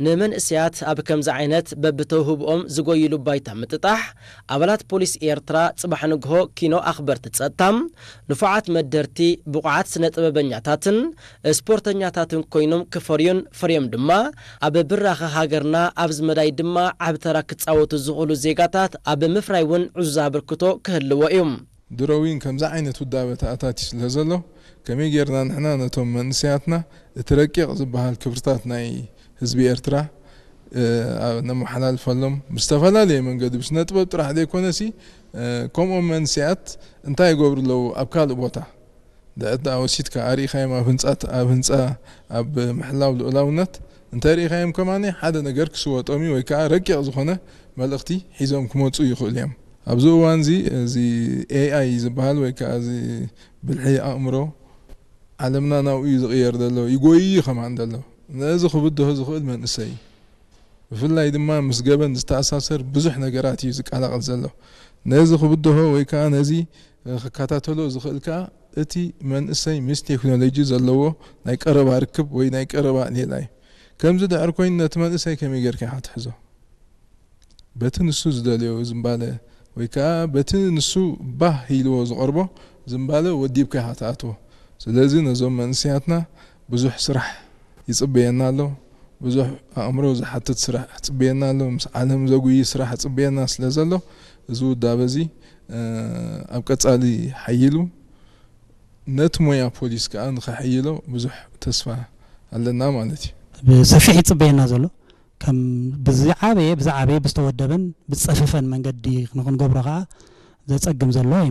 ንመንእሰያት ኣብ ከምዚ ዓይነት በብተውህብኦም ዝጎይሉ ባይታ ምጥጣሕ፣ ኣባላት ፖሊስ ኤርትራ ጽባሕ ንግሆ ኪኖ ኣኽበርቲ ጸጥታ፣ ንፉዓት መደርቲ፣ ብቑዓት ስነ ጥበበኛታትን ስፖርተኛታትን ኮይኖም ክፈርዩን ፈርዮም ድማ ኣብ ብራኸ ሃገርና ኣብዚ መዳይ ድማ ዓቢ ተራ ክጻወቱ ዝኽእሉ ዜጋታት ኣብ ምፍራይ እውን ዕዙዝ ኣበርክቶ ክህልዎ እዩ። ድሮ እውን ከምዚ ዓይነት ውዳበ ተኣታትዩ ስለ ዘሎ፣ ከመይ ጌርና ንሕና ነቶም መንእሰያትና እቲ ረቂቕ ዝበሃል ክብርታት ናይ ህዝቢ ኤርትራ፣ እ፣ ኣብ-፣ ነመሓላልፈሎም ብዝተፈላለየ መንገዲ፣ ብስነ ጥበብ ጥራሕ ዘይኮነሲ፣ እ፣ ከምኦም መንእሰያት እንታይ ይገብሩ ኣለዉ ኣብ ካልእ ቦታ? ድዕዳ ወሲድካ ኣርኢኻዮም ኣብ ህንጻት-፣ ኣብ ህንጻ፣ ኣብ ምሕላው ልኡላውነት እንተ ርኢኻዮም ከማኒ ሓደ ነገር ክስወጦም እዩ ወይ ከኣ ረቂቕ ዝኾነ መልእኽቲ ሒዞም ክመጹ ይኽእሉ እዮም። ኣብዚ እዋን እዚ፣ እዚ ኤ ኣይ ዝበሃል ወይ ከኣ እዚ ብልሒ ኣእምሮ ዓለምና ናብኡ እዩ ዝቕየር ዘሎ፣ ይጎይ እዩ ከማን ዘሎ። ነዚ ክብድሆ ዝኽእል መንእሰይ እዩ። ብፍላይ ድማ ምስ ገበን ዝተኣሳሰር ብዙሕ ነገራት እዩ ዝቀላቐል ዘሎ። ነዚ ክብድሆ ወይ ከኣ ነዚ ክከታተሎ ዝኽእል ከኣ እቲ መንእሰይ ምስ ቴክኖሎጂ ዘለዎ ናይ ቀረባ ርክብ ወይ ናይ ቀረባ ሌላ እዩ። ከምዚ ድሕር ኮይኑ ነቲ መንእሰይ ከመይ ጌርካ ኢኻ ትሕዞ? በቲ ንሱ ዝደልዮ ዝምባለ ወይ ከኣ በቲ ንሱ ባህ ኢልዎ ዝቐርቦ ዝምባለ ወዲብካ ኢኻ ትኣትዎ። ስለዚ ነዞም መንእሰያትና ብዙሕ ስራሕ ይጽበየና ኣሎ። ብዙሕ ኣእምሮ ዝሓትት ስራሕ ይጽበየና ኣሎ። ምስ ዓለም ዘጉይ ስራሕ ይጽበየና ስለ ዘሎ፣ እዚ ውዳበ እዚ፣ እ፣ ኣብ ቀጻሊ ሓይሉ ነቲ ሞያ ፖሊስ ከኣ ንኸሐይሎ ብዙሕ ተስፋ ኣለና ማለት እዩ። ብሰፊሕ ይጽበየና ዘሎ፣ ከም ብዝዓበየ፣ ብዝዓበየ፣ ብዝተወደበን ብዝጸፈፈን መንገዲ ንኽንገብሮ ከኣ ዘጸግም ዘሎ